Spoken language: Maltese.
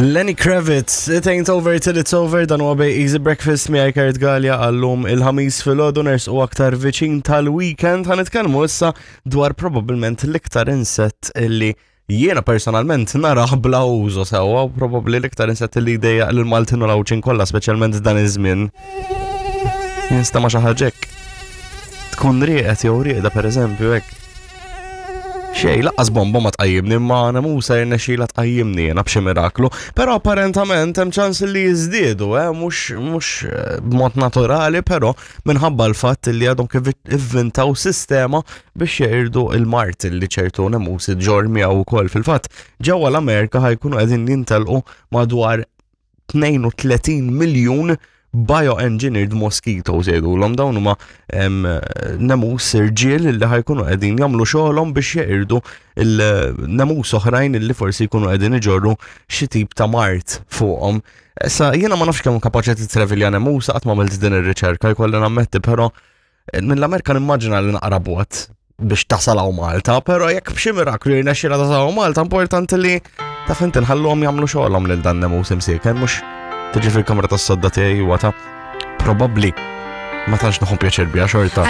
Lenny Kravitz, It Ain't Over Till It's Over, dan huwa bej Easy Breakfast miegħi Kurt Gallia għallum il-ħamis filgħodu nersqu aktar viċin tal-weekend ħa nitkellmu issa dwar probabbilment l-iktar insett illi jiena personalment narah bla użu sewwa u probabbli l-iktar insett li jdejjaq lil Maltin u l-Għawdxin kollha speċjalment dan iż-żmien. Jinstema' xi ħaġa hekk. Tkun rieqed jew rieqda pereżempju hekk. Xej, laqqas bomba ma tqajjimni, imma nemusa jirnexxila tqajjimni jiena b'xi miraklu. Però apparentament hemm ċans li jiżdiedu, eh, mhux mhux eh, b'mod naturali, però minħabba l-fatt li għadhom kif ivvintaw sistema biex jeqirdu il-mart li ċertu nemusi ġor miegħu wkoll. Fil-fatt, ġewwa l-Amerika ħajkunu qegħdin jintelqu madwar 32 miljun bioengineered mosquitoes jgħidulhom dawn huma nemus irġiel li ħajkunu qegħdin jagħmlu xogħolhom biex jeqirdu il-nemus oħrajn li forsi jkunu qegħdin iġorru xi tip ta' mart fuqhom. Issa jiena ma nafx kemm kapaċi titrevilja nemus qatt ma għamilt din ir-riċerka jkolli nammetti, però mill-Amerika nimmaġina li naqra bot biex tasal hawn Malta, però jekk b'xi miraklu jirnexxilha tasal hawn Malta, importanti li taf inti nħalluhom jagħmlu xogħolhom lil dan nemus imsieker mhux tiġi fil-kamra tas-sodda tiegħi huwa ta' probabbli ma tantx nieħu pjaċir biha xorta.